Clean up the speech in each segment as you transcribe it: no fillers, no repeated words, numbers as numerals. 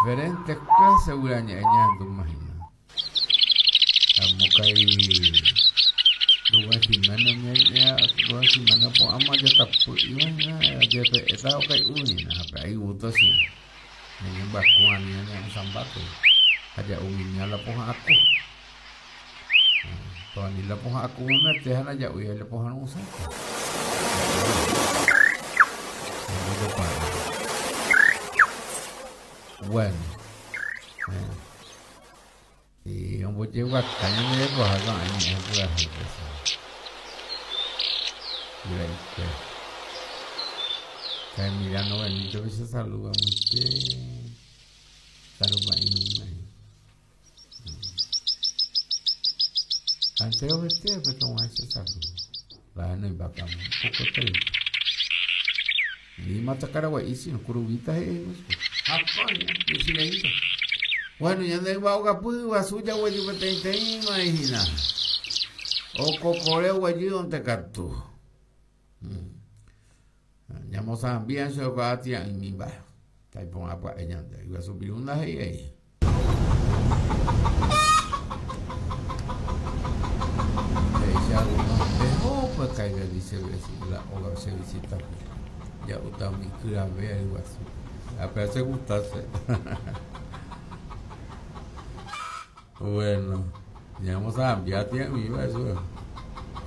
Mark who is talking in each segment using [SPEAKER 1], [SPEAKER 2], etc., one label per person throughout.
[SPEAKER 1] Diferente clase guyra ñe'ẽ ñahendúma hína. Amo kai Rubén Jiménez Rubén Jiménez opu'ãma jatapy'íva hína jepe'éta okai'u hína ha pe ayvúta che ñañembyaku ani ñane'ãsambápe ha ja'u mimi la pohã aku. Ani la pohã aku memete ha ndaja'úi la pohã ru'ãsã. Bueno. Y ombojeguaka ñande rekoha ko'ã ñe'ẽ purahéipe. Purahéipe. Ka Emiliano Benito pe che saluda muite. Saluda irũme. Ha enterovete pe tog̃uahẽ che saludo. La henoimbáta un poco triste. Ni matakaragua'i sino kuruvita he'i chupe. Ha coño, michĩreínte. Bueno, ñande yva ogapy yguasu jaguejy peteĩteĩma hína. Okokore oguejýonte katu. Ñamosãmbi ancho oikuaa tĩa'ỹimi mba'e. Taiporã pya'e ñande. Yguasu piru ndahe'ivéi. He'i alguno, Eho pues caiga, dice la óga che visita ja'úta umi kyrave ryguasu. Ha péva che gustase. Bueno, ñamosambia tĩa'ỹiva eso.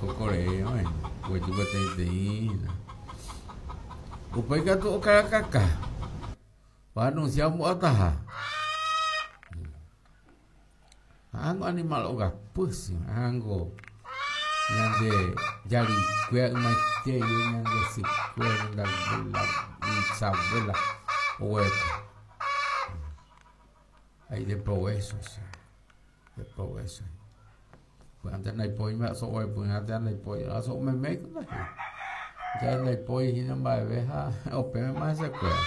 [SPEAKER 1] Kokorei oĩ, guejy peteĩteĩ hína. Upéi katu okarakaka. Oanuncia ombo'ataha. Ángo animal ogapy, ángo ñande jarikuéra ymaite guive ñande sykuéra, ñande abuela, bisabuela oguereko. Ha ideprovécho, ideprovécho. Py'ánte ndaipói mba'e so'o repyrã térã ndaipói so'o meméiko ndaje. Ja ndaipói hína mba'eve ha opẽvema hesekuéra.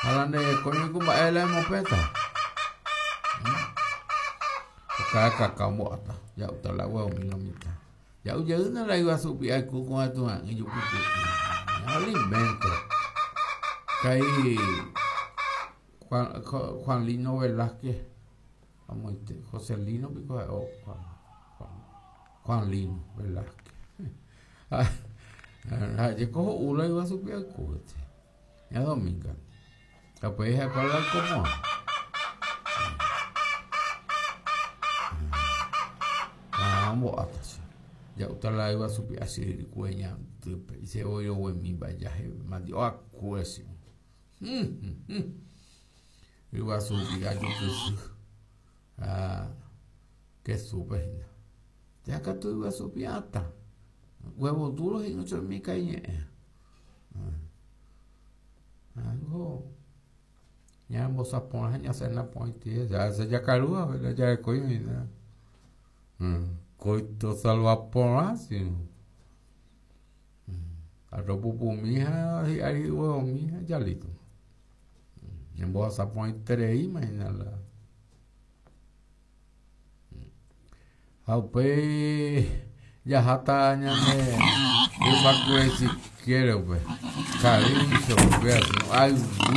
[SPEAKER 1] Ha la nde rekói ku mba'e la emopẽta. Okarakaka ombo'áta, ja'úta la huevomi lo mitã. Ja'u jeýna la yguasu py'aku ko'ã tuha'ỹ jukupy'ỹ. Alimento. Kai Juan, Juan Lino Velázquez. Amoite, José Lino piko ha'e o Juan, Juan, Juan Lino Velázquez. Ha jeko ho'u la yguasu py'aku este. Ña Dominga. Ha upéi ha'ekuéra la oikomo'ã. Ha ombo'áta che. Ja'úta la yguasu py'a chyryrykue ñandýpe. Isevoi roguemi mba'e jahe mandi'o akue che. Ryguasu rupi ajupyhy ha kesúpe hína. Térã katu ryguasu pi'ãta. Huevo duro he'i ochomi kaiñe'ẽ. Algo ñambosa porã ha ñasena porãite. Ya se jakaru ha jarekói hína. Koito salva porã si. Arroz pupumi ha hi'ári huevomi ha jalíto. Ñambohasa porãitereíma hína la. Ha upéi jaháta ñane yvakue siquiera upe. Karícho, upéva, ayvu.